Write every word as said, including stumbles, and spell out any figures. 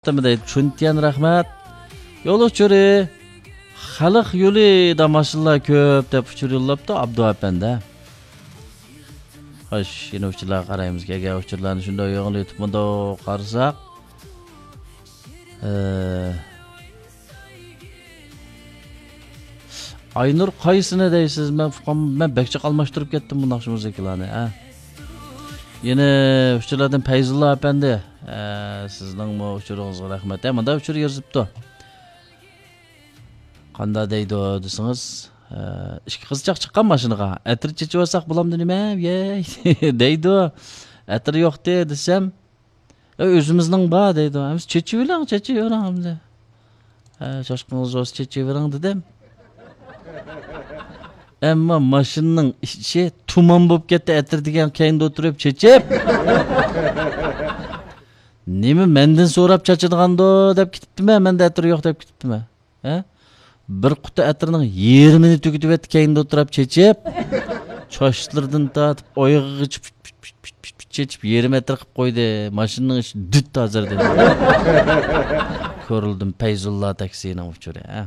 دەيدۇ. چۈنتيەن، رەھمەت. يول ئۇچۇرى، خەلق يولىدا ماشىنىلار كۆپ دەپ ئۇچۇر يوللاپتۇ ئابدۇ ئەپەندى. خوش، يەنە ئۇچۇرلارغا قارايمىز. كەلگەن ئۇچۇرلارنى شۇنداق يىغىنلىتىپمىدۇق، قارىساق. ئە، ئاينۇر، قايسىنى دەيسىز؟ مەن ئۇقام، مەن بەك جىق ئالماشتۇرۇپ كەتتىم بۇنداق مۇزىكىلارنى، ھە. يەنە ئۇچۇرلاردىن پەيزۇللا ئەپەندى، ئە، سىزنىڭمۇ ئۇچۇرىڭىزغا رەھمەت. ھە، مۇنداق ئۇچۇر يېزىپتۇ. قاندا دەيدۇ دېسىڭىز، ئە، ئىككى قىزچاق چىققان ماشىنىغا. ئەتىر چېچىۋالساق بولامدۇ نېمە؟ يەي، دەيدۇ. ئەتىر يوقتى دېسەم، ئە، ئۆزىمىزنىڭ بار دەيدۇ. ئەمىسە چېچىۋېلىڭ، چېچىۋېرىڭ ئەمدى. ئە، چاچقىڭىز بولسا چېچىۋېرىڭ دېدىم. ئەمما ماشىنىنىڭ ئىچى تۇمان بولۇپ كەتتى، ئەتىر دېگەن كەينىدە ئولتۇرۇپ چېچىپ. نېمە، مەندىن سوراپ چاچىدىغاندۇ دەپ كېتىپتىمەن، مەندە ئەتىر يوق دەپ كېتىپتىمەن. ھە؟ بىر قۇتا ئەتىرنىڭ يېرىمىنى تۈگىتىۋەتتى، كەينىدە ئولتۇرۇپ چېچىپ. چاچلىرىدىن تارتىپ ئايىغىغىچە پىت، پىت، پىت، پىت، پىت، پىت چېچىپ، يېرىم ئەتىر قىلىپ قويدى. ماشىنىنىڭ ئىچى دۈت ھازىر دېدى. كورلىدىم، پەيزۇللا تاكسىنىڭ ئۇچۇرى، ھە؟